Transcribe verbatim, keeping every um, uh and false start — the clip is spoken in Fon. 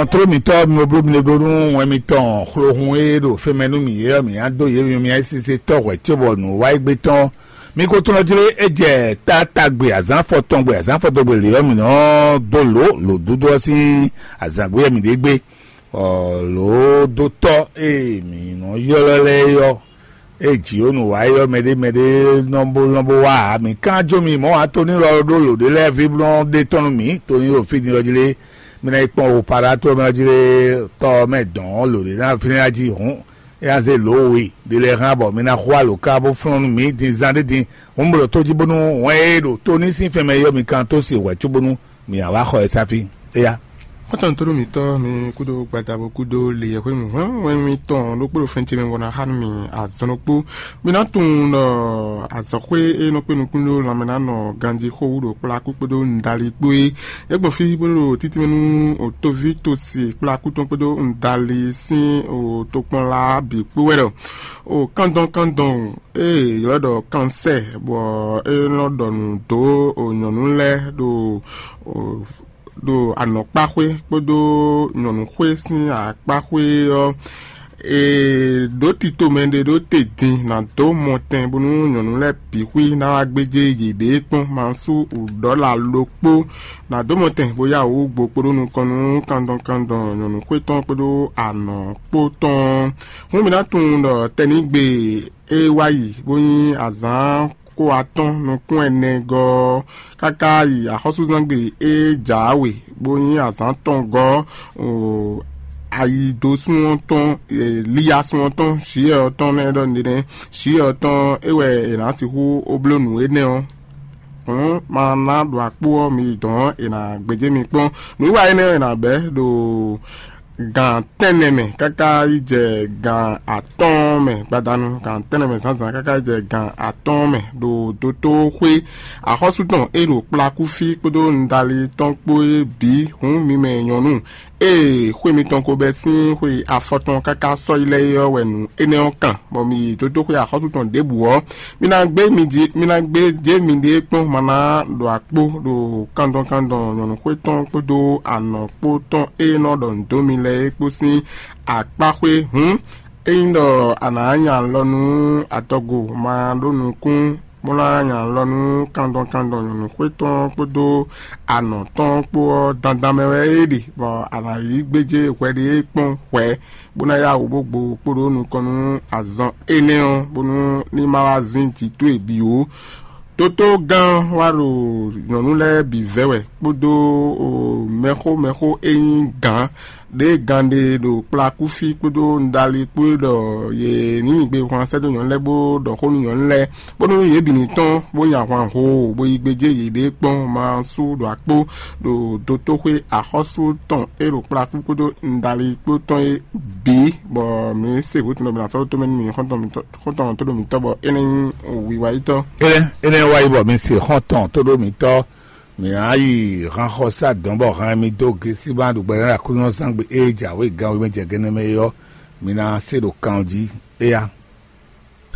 Tló mǐtɔn mi bló mi ɖó nú wɛn mitɔn xlohun e ɖo fɛnmɛ nú mǐ é ɔ́, mǐ ná dó yě myɔ mǐ sise tɔ́ hwɛ̌ cóbɔ nǔ wá yi gbé tɔn. Mi ko tunɔ jlé é jɛ tátágbe azǎn afɔtɔn gbe azǎn afɔtɔn gbe lě ɔ́, mǐ nɔ dó lǒ lǒdúdú ɔ́ sín azǎn gbé wɛ mǐ ɖe gbé. Ɔ, lǒ dó tɔ́ e mǐ nɔ ylɔ́ lɛ́ɛ é ɔ́, ée jǐ ó nǔ wa é ɔ́, mɛɖé mɛɖé nɔ bó nɔ bó wá ǎ. Mǐ kán jó mi mɔ̌ ǎ, Tonilɔ ɖó lǒ ɖé lɛ́ɛ ví blɔ́ ɖé tɔn nú mǐ. Tonilɔ fí din ɔ́ jí lé, mi ná yi kpɔ́n Opaɖátɔ́ mɛ ɔ́ jí lé, tɔ ɔ́ mɛ dɔn ɔ́, lǒ ɖé ná fínɛ́ ná jí hǔn, é ná zé lǒ we ɖé lɛ́ɛ hán bɔ mi ná xo alǒ ká bó flɔ́n nú mǐ din zán ɖé din. Hǔn mi ɖo tó jí bónú wɛn e ɖo tó ní sín fɛnmɛ é ɔ́, mi kan tó se hwɛ̌ cóbónú mǐ ná wá xɔ ɛ sá fí. Éyá. Xɔ́ntɔn tó ɖo mǐtɔn mi kúdó gbadabo kúdó leyɛxwé mi hwɛ́nwɛ́n mitɔn ɖokpó ɖo fɛn ce mɛ bɔ ná xa nú mi azɔn ɖokpó. Mi ná tunwun ɖɔ azɔ̌xwé e nɔ kpé nukún ɖó lanmɛ ná nɔ ganjí xó wú ɖo kplá kú kpódó nǔɖali kpó é. É gbɔn fí bó ɖo títí mɛ nú òtóví tosi kplá kú tɔn kpódó nǔɖali sín òtokpɔnla bǐ kpó wɛ ɖɔ o kandɔn kandɔn e ylɔ́ ɖɔ kansɛ́, bɔ é nɔ ɖɔ nǔ dó nyɔ̌nu lɛ́ɛ ɖo ɖo anɔ̌kpaxwé kpódó nyɔ̌nuxwé sín akpaxwé ɔ́, è ɖǒ tito mɛɖé ɖó te din nǎ dó mɔtɛn bónú nyɔ̌nu lɛ́ɛ bǐ xwí ná wá gbéjé yěɖée kpɔ́n. Masú ɖɔ̌la ɖokpó nǎ dó mɔtɛn bó yá wǔ gbo kpo ɖó nukɔn nú kandɔn kandɔn nyɔ̌nuxwé tɔn kpódó anɔ̌ kpó tɔn. Hǔn mi ná tunwun ɖɔ tɛnígbe e wá yi bó nyí azǎn kó atɔ́ɔ́n nukún ɛnɛ gɔ́ ɔ́, káká yi axɔ́súzángbe e jǎwe bó nyí azǎn tɔn gɔ́, o, ayidosun ɔ́ tɔn, e, liyasun ɔ́ tɔn, Jiyɛ ɔ́ tɔn nɛ́ ɖɔ nɛnɛ́. Jiyɛ ɔ́ tɔn é wɛ è nǎ sixú ó bló nǔ énɛ́ ɔ́. Hǔn ma ná ɖo akpó ɔ́ mi yi dɔ̌n è nǎ gbéjé mi kpɔ́n. Nǔwiwa énɛ́ ɔ́ è nǎ bɛ̌ ɖo gan tɛ́nnɛ mɛ káká yi jɛ gan atɔ́ɔ́n mɛ gbadanu, gan tɛ́nnɛ mɛ zǎnzǎn káká yi jɛ gan atɔ́ɔ́n mɛ ɖo dotóxwé axɔ́sú tɔn e ɖo kplakúfí kpódó nudali tɔn kpó é bǐ. Hǔn mi mɛ nyɔ̌nu, ée xwé mitɔn ko bɛ́ sín xwe afɔtɔn káká sɔ́yi lɛ́ɛ é ɔ́ wɛ nǔ énɛ́ ɔ́ kan, bɔ mi yi dotóxwé axɔ́sú tɔn ɖěbǔ ɔ́, mi ná gbé mi jí, mi ná gbé jé miɖée kpɔ́n ma ná ɖo akpó ɖo kandɔn kandɔn nyɔ̌nuxwé tɔn kpódó anɔ̌ kpó tɔn e nɔ ɖɔ nǔ dó mi lɛ́ɛ é kpó sín akpáxwé. Hǔn, ényí ɖɔ a nǎ nya alɔ nú atɔgo ma ɖó nukún, bó ná nya alɔ nú kandɔn kandɔn nyɔ̌nuxwé tɔn kpódó anɔ̌ tɔn kpó ɔ́, dandan mɛ wɛ é ɖe, bɔ a nǎ yí gbéjé hwɛɖée kpɔ́n hwɛ̌, bó ná yá wǔ bó gbo kpo ɖó nukɔn nú azɔn énɛ́ ɔ́, bónú ní ma wá zín jǐ towe bǐ ó. Dótó gán wá ɖo nyɔ̌nu lɛ́ɛ bǐ vɛ́ wɛ kpódó mɛxó mɛxó e nyí gǎn ɖě gán ɖe ɖo kplakúfí kpódó nudali kpó é ɖɔ yě ní nyi gbe hwan sɛ́ dó nyɔ̌nu lɛ́ɛ bó ɖɔ xó nú nyɔ̌nu lɛ́ɛ, bónú yě bǐ ní tɔ́n bó nyi ahwan hoo bó yí gbéjé yěɖée kpɔ́n ma sú ɖo akpó ɖo dotóxwé axɔ́sú tɔn e ɖo kplakú kpódó nudali kpó tɔn é bǐ, bɔ mǐ se hǔ tɔn ɖɔ mǐ ná sɔ́ ɖó tomɛ nú mǐ xɔ́ntɔn mǐtɔn xɔ́ntɔn tó ɖo mǐtɔn bɔ é nɛ́ nyí wiwa yítɔ́. Énɛ́ énɛ́ wá yi bɔ mi se xɔ́ntɔn tó ɖó mǐtɔn, mǐ ná yi hanxɔsá dɔn bɔ han mi dó gesí bá ɖu gbɛɖe Aklúnɔzán gbe e jǎwe ganwe mɛ jɛ gɛnɛ mɛ é ɔ́, mi ná se ɖo kan jí. Éya.